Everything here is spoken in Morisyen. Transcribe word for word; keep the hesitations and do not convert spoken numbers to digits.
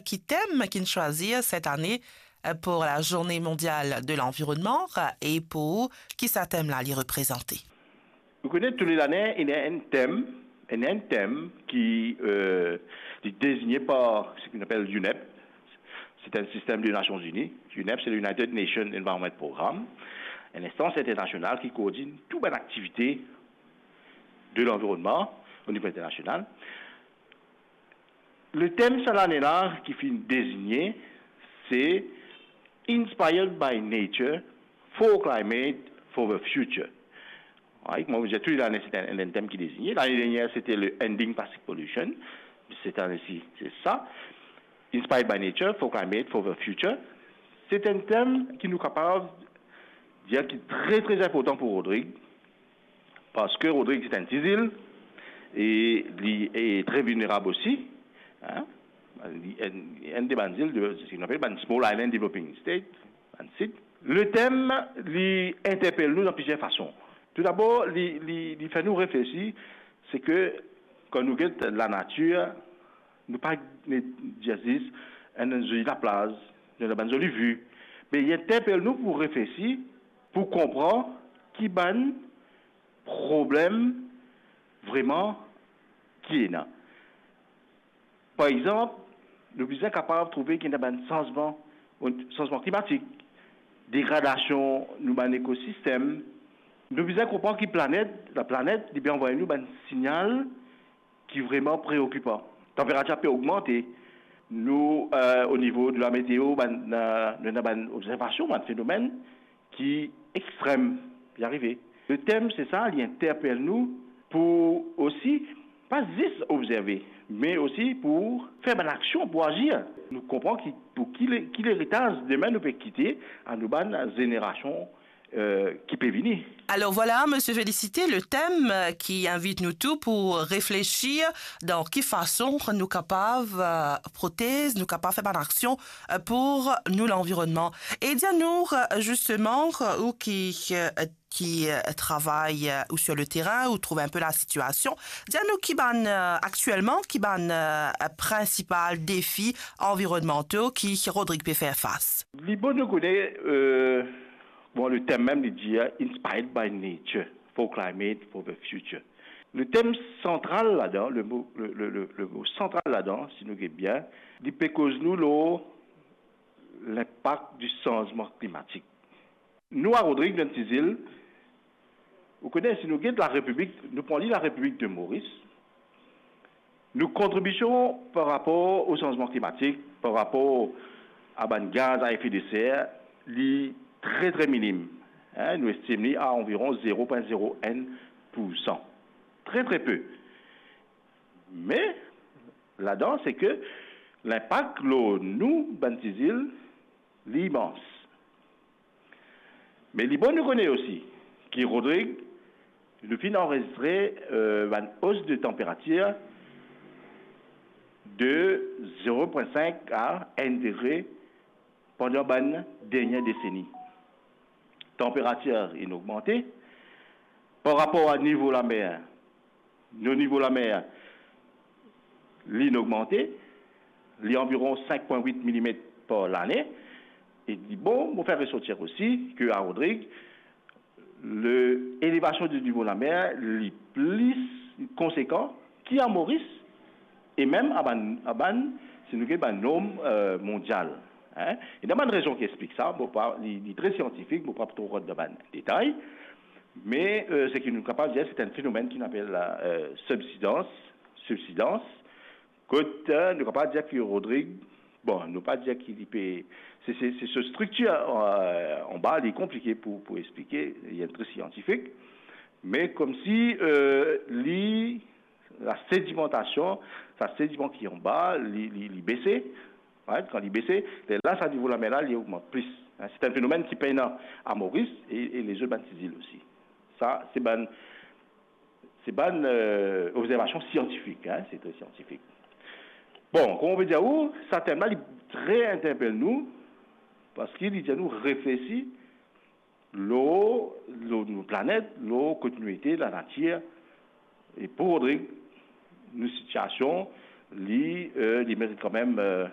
ki tem ki'nn swazir set ane, eh, pou la Journée Mondiale de l'Environnement, eh, e pou ki sa tem la li reprezante? Ou kone, tou le lane, ena enn tem, ena enn tem ki, eh, li dezigne par seki nou apel UNEP. C'est un système des Nations Unies. UNEP, c'est le United Nations Environment Programme, enn instans internasional ki koordinn tou bann aktivite de lanvironnman o nivo internasional. Le tem sa lane la ki finn dezigne, se Inspired by Nature for Climate for the Future. Right? Mo dir, tou le lane, se enn, enn tem ki dezigne. Lane dernier, se te le Ending Plastic Pollution. Set ane si, se sa. Inspired by Nature for Climate for the Future. Se enn tem ki nou kapav dir ki tre, tre inportan pou Rodrig, parski Rodrig se enn ti zil, e li e tre vilnerab osi, hein? Li enn, enn de bann zil de, seki nou apel bann small island developing state, bann sit. Le tem, li interpel nou dan plizier fason. Toudabor, li, li, li fer nou reflesi, se ke kan nou get lanatir, nou pa dir zis enn zoli laplaz, nou ena bann zoli vi, me li interpel nou pou reflesi, pou konpran ki bann problem vreman ki ena. Par exanp, nou bizin kapav trouve ki ena bann sanzman, sanzman klimatik, degradasion nou bann ekosistem. Nou bizin konpran ki planet, laplanet, li pe anvway nou bann signal ki vreman preokipan. Tanperatir pe ogmante. Nou, eh, o nivo de lameteo, bann, eh, nou ena bann obzervasion, bann fenomenn ki extrem, ki arive. Le tem, se sa, li interpel nou pou osi, pa zis obzerve, me osi pou fer bann aksion, pou azir. Nou konpran ki, pou ki le, ki leritaz demin nou pe kite a nou bann zenerasion, eh, ki pe vini. Alors voilà, Monsieur Félicité, le thème, euh, qui invite nous tous pour réfléchir dans ki fason nou kapav, euh, protez, nou kapav fer bann aksion, euh, pou nou lanvironnman. E dir nou, euh, justement, euh, ou ki, euh, ki, euh, travay, euh, ou sur le terrain, ou trouv inpe la sitiasion, dir nou ki bann, euh, aktielman, ki bann, euh, prinsipal defi anvironnmanto ki Rodrig pe fer fas. Li bon nou kone, euh, bon, le tem mem, li dir, Inspired by Nature for Climate for the Future. Le tem santral ladan, le mo, le, le, le, le mo santral ladan, si nou get bien, li pe koz nou lor linpak di sanzman klimatik. Nou a Rodrig, nou enn ti zil, ou kone, si nou get Larepiblik, nou pran li Larepiblik de Moris, nou kontribision par rapor o sanzman klimatik, par rapor a bann gaz a efe de ser, li tre, tre minim. Hein, nou estim li a anviron zero pwin zero enn poursan. Tre, tre pe. Me, ladan, se ke linpak lor nou, bann ti zil, li imans. Me li bon nou kone osi ki Rodrig, nou finn anrezistre, euh, bann os de tanperatir de zero pwin sink a enn degre pandan bann dernie deseni. Tanperatir inn ogmante par rapor a nivo lamer. Nou nivo lamer, li inn ogmante, li anviron sink pwin wit milimet par lane. E li bon, mo fer resortir osi ke a Rodrig, le elevasion di nivo lamer, li pli konsekan ki a Moris, e mem a bann, a bann, si nou get bann norm, euh, mondial. Hein? Ena bann rezon ki explik sa, mo pa, li, li tre siantifik, mo pa tro rant dan bann detay, me, euh, seki nou kapav dir, se enn fenomenn ki nou apel la, euh, subsidans, subsidans, kot, euh, nou kapav dir ki Rodrig, bon, nou pa dir ki li pe, se, se, se so striktir, euh, anba, li konplike pou, pou explike, li enn tre siantifik, me koumsi, euh, li, la sedimantasion, sa sediman ki anba, li, li, li bese, right? Kan li bese, lerla sa nivo lamer la, li ogmant plis. Hein, se enn fenomenn ki pena a Moris e, e lezot bann ti zil osi. Sa, se bann, se bann, euh, obzervasion siantifik, hein, se tre siantifik. Bon, kouma mo pe dir ou, sa tem la, li tre interpel nou, parski li dir nou reflesi lor, lor nou planet, lor kot nou ete, lanatir. E pou Rodrig, nou sitiasion, li, euh, li merit kanmem, euh,